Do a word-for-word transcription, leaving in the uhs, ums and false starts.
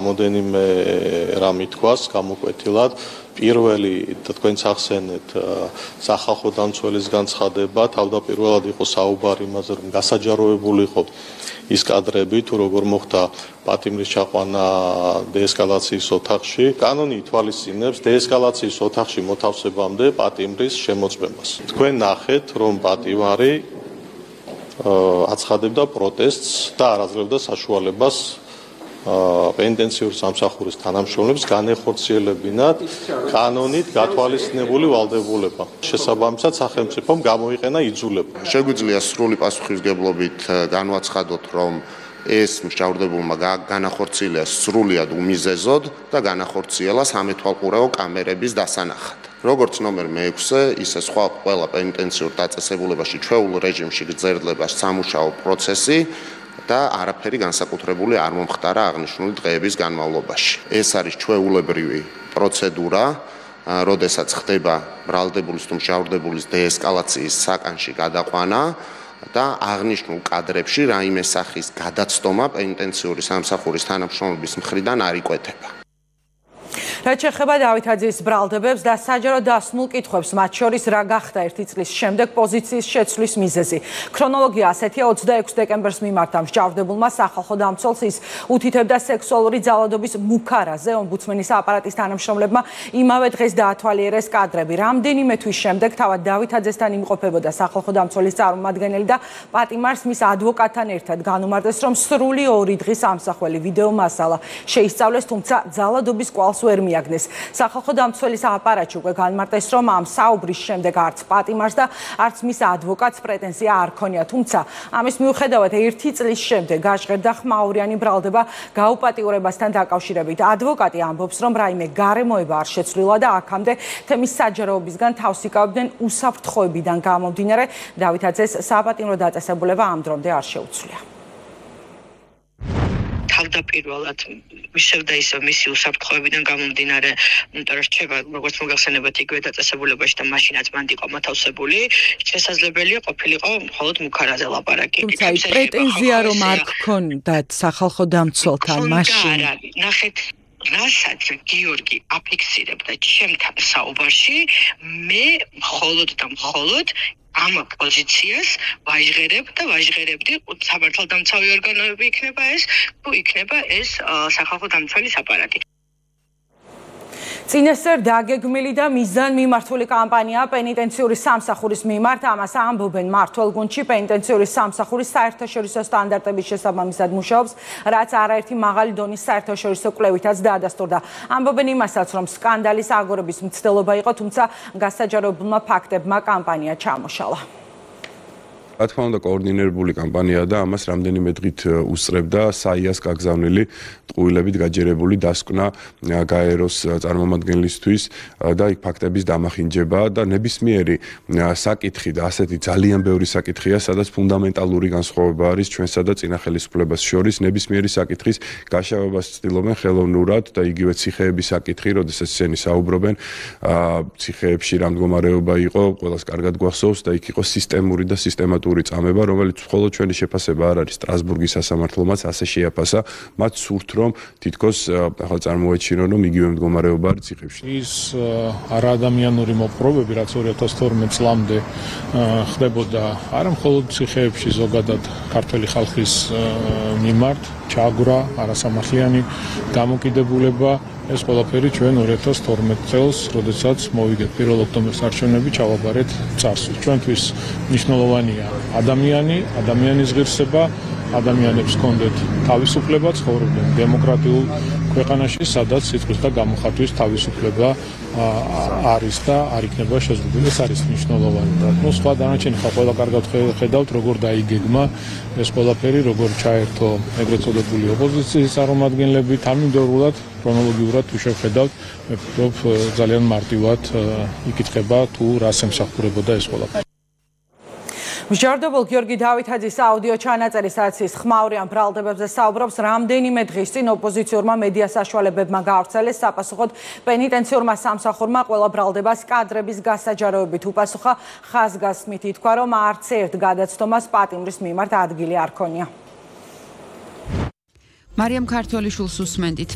Მოდენიმე რამ ითქვას გამოკვეთილად პირველი და თქვენც ახსენეთ სახალხო დამცველის განცხადება თავდაპირველად იყო საუბარი იმაზე რომ გასაჯაროებული იყო ის კადრები თუ როგორ მოხდა პატიმრის ჩაყვანა დეესკალაციის ოთახში კანონი ითვალისწინებს დეესკალაციის ოთახში მოთავსებამდე პატიმრის შემოწმებას თქვენ ნახეთ რომ პატიმარი აცხადებდა პროტესტს და არ აძლევდა საშუალებას პენიტენციური სამსახურის თანამშრომლებს განეხორციელებინათ კანონით გათვალისწინებული ვალდებულება. შესაბამისად სახელმწიფომ გამოიყენა იძულება. შეგვიძლია სრული პასუხისმგებლობით განვაცხადოთ, რომ ეს მსჯავრდებულმა განახორციელა სრულიად უმიზეზოდ და განახორციელა სამეთვალყურეო კამერების დასანახად. როგორც ნომერ მეექვსე, ისე სხვა ყველა პენიტენციურ დაწესებულებაში ჩვეულ რეჟიმში გრძელდება სამუშაო პროცესი და არაფერი განსაკუთრებული არ მომხდარა აღნიშნული დღეების განმავლობაში. ეს არის ჩვეულებრივი პროცედურა, როდესაც ხდება ბრალდებულის თუ მსჯავრდებულის დეესკალაციის საკანში გადაყვანა და აღნიშნულ კადრებში რაიმე სახის გადაცდომა პენიტენციური სამსახურის თანამშრომლების მხრიდან არ იკვეთება. რაც შეეხება დავითაძის ბრალდებებს და საჯარო დასმულ კითხვებს, მათ შორის რა გახდა ერთი წლის შემდეგ პოზიციის შეცვლის მიზეზი. ქრონოლოგია ასეთია: ოცდაექვსი დეკემბერს მიმართა მსჯავრდებულმა სახალხო დამცველს ის უთითებდა სექსუალური ძალადობის მუქარაზე. ომბუდსმენის აპარატის თანამშრომლებმა იმავე დღეს დაათვალიერეს კადრები. რამდენიმე თვის შემდეგ თავად დავითაძესთან იმყოფებოდა სახალხო დამცველის წარმომადგენელი და პატიმარს მის ადვოკატთან ერთად განუმარტეს, რომ სრული ორი დღის ამსახველი ვიდეო მასალა შეისწავლეს, თუმცა ძალადობის კვალს ვერ მიაგნეს. სახალხო დამცველის აპარატში უკვე განმარტეს, რომ ამ საუბრის შემდეგ არც პატიმარს და არც მის ადვოკატს პრეტენზია არ ქონია, თუმცა ამის მიუხედავად ერთი წლის შემდეგ გაჟღერდა ხმაურიანი ბრალდება გაუპატიურებასთან დაკავშირებით. ადვოკატი ამბობს, რომ რაიმე გარემოება არ შეცვლილა და აქამდე თემის საჯაროებისგან თავს იკავებდნენ უსაფრთხოებიდან გამომდინარე, დავითაძეს საპატიმრო დაწესებულება ამ დრომდე არ შეუცვლია. თავდაპირველად ისევ და ისევ მისი უსაფრთხოებიდან გამომდინარე, იმიტომ რომ რჩება როგორც მოგახსენებათ იგივე დაწესებულებაში და მაშინაც მანდ იყო მოთავსებული, შესაძლებელია ყოფილიყო მხოლოდ მუქარაზე ლაპარაკი. თუმცა პრეტენზია რომ არ გქონდათ სახალხო დამცველთან მაშინ. ნახეთ რასაც გიორგი აფიქსირებდა ჩემთან საუბარში, მე მხოლოდ და მხოლოდ ამ პოზიციას ვაჟღერებ და ვაჟღერებდი სამართალდამცავი ორგანოები იქნება ეს, თუ იქნება ეს სახალხო დამცველის აპარატი. წინასწარ დაგეგმილი და მიზანმიმართული კამპანია პენიტენციური სამსახურის მიმართ, ამას ამბობენ მმართველ გუნდში. პენიტენციური სამსახურის საერთაშორისო სტანდარტების შესაბამისად მუშაობს, რაც არაერთი მაღალი დონის საერთაშორისო კვლევითაც დაადასტურდა. ამბობენ იმასაც, რომ სკანდალის აგორების მცდელობა იყო, თუმცა გასაჯაროებულმა ფაქტებმა კამპანია ჩამოშალა. რა თქმა უნდა, კოორდინირებული კამპანია და ამას რამდენიმე დღით უსწრებდა საიას გაგზავნილი ტყუილებით გაჯერებული დასკვნა გაეროს წარმომადგენლისთვის და იქ ფაქტების დამახინჯება და ნებისმიერი საკითხი და ასეთი ძალიან ბევრი საკითხია, სადაც ფუნდამენტალური განსხვავება არის ჩვენსა და წინა ხელისუფლებას შორის. ნებისმიერი საკითხის გაშავებას ცდილობენ ხელოვნურად და იგივე ციხეების საკითხი, როდესაც ისინი საუბრობენ, ციხეებში რა მდგომარეობა იყო, ყველას კარგად გვახსოვს და იქ იყო სისტემური და სისტემატური წამება, რომელიც მხოლოდ ჩვენი შეფასება არ არის. სტრასბურგის სასამართლომაც ასე შეაფასა, მათ სურთ რომ თითქოს ახლა წარმოეჩინონ, რომ იგივე მდგომარეობა არის ციხეებში. ის არაადამიანური მოპყრობები, რაც ორი ათას თორმეტ წლამდე ხდებოდა არა მხოლოდ ციხეებში, ზოგადად ქართველი ხალხის მიმართ, ჩააგვრა არასამართლიანი დამოკიდებულება, ეს ყველაფერი ჩვენ ორი ათას თორმეტ წელს, როდესაც მოვიგეთ პირველ ოქტომბერს არჩევნები, ჩავაბარეთ წარსულს. ჩვენთვის მნიშვნელოვანია ადამიანი, ადამიანის ღირსება, ადამიანებს ჰქონდეთ თავისუფლება, ცხოვრობდნენ დემოკრატიულ ქვეყანაში, სადაც სიტყვის და გამოხატვის თავისუფლება არის და არ იქნება შეზღუდული. ეს არის მნიშვნელოვანი. ნუ სხვა დანარჩენი ხა ყველა კარგად ხედავთ, როგორ დაიგეგმა ეს ყველაფერი, როგორ ჩაერთო ეგრეთ წოდებული ოპოზიციის წარმომადგენლები, თანმიმდევრულად ქრონოლოგიურად თუ შევხედავთ, მე ვფიქრობ ძალიან მარტივად იკითხება თუ რას ემსახურებოდა ეს ყველაფერი. მსჯავრდებულ გიორგი დავითაძის აუდიო ჩანაწერი, სადაც ის ხმაურიან ბრალდებებზე საუბრობს, რამდენიმე დღის წინ ოპოზიციურმა მედია საშუალებებმა გაავრცელეს საპასუხოდ პენიტენციურმა სამსახურმა ყველა ბრალდებას კადრების გასაჯაროებით უპასუხა. ხაზგასმით ითქვა, რომ არც ერთ გადაცდომას პატიმრის მიმართ ადგილი არ ქონია. მარიამ ქართველიშვილს უსმენდით.